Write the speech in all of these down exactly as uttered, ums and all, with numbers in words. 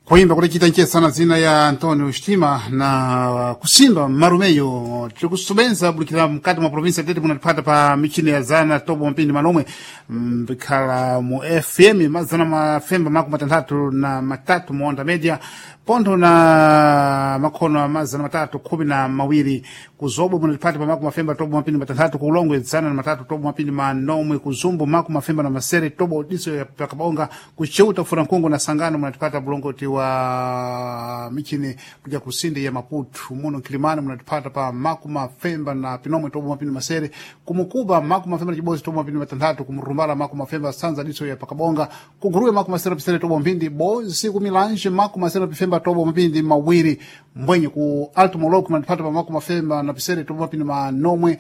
Kuimba kulichita nchesana zina ya Antonio Shtima na kusimba marumeyo tikusubenza bulikira mkati mwa provinsi tete munatipata pa michini ya zana tobo mpindi manomwe mbikhala mu F M mazana mafemba makumi matanthatu na matatu muonda media pontho na makhono a mazana matatu khumi na mawiri. Kuzobwe munatipata pa makumi mafemba tobo mapindi matanthatu, kulongwe zana na matatu tobo mapindi manomwe, kuzumbu makumi mafemba na masere tobo diso ya pakabonga, kucheuta furankungu na sangano munatipata bulongoti wa michini kuja kusindi ya Maputu. Muno Kilimani munatipata pa makumi mafemba na pinomwe tobo mapindi masere, kumukuba makumi mafemba na chibozi tobo mapindi matanthatu, kumurumbala makumi mafemba sanza diso ya pakabonga, kuguruwe makumi masere pisere tobo mpindi bozi, kumilanje makumi masere pifemba tobo mapindi mawiri, mbwenye ku Alto Moloko munatipata pa makumi mafemba na pisere tobo mapindi manomwe,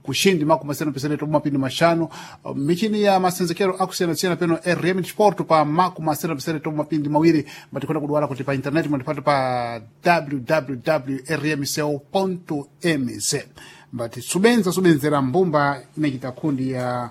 kushindi makumi masere na pisere tobo mapindi mashanu. Michini ya masenzekero akusiyana-siyana peno R M Sport pa makumi masere na pisere tobo mapindi mawiri. Matikwenda kuduwala kuti pa internet munatipata pa w w w rmco mz. Mbati subenza subenzera mbumba inachita kundi ya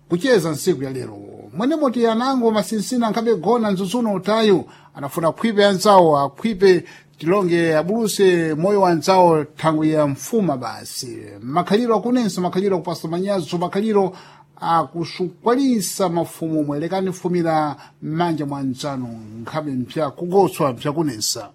kucheza nsiku ya lero mwene moti anango masinsina nkhabe gona nzuzuno utayu anafuna akhwipe anzawo, akhwipe tilonge abuluse moyo wa anzawo thangwi ya mfuma basi. Makhaliro akunenso, makhaliro akupasa manyazo, makhaliro akusukwalisa mafumu mwelekani fumira m'manja mwa nzanu nkhabe mpya kugotswa mpyakunensa.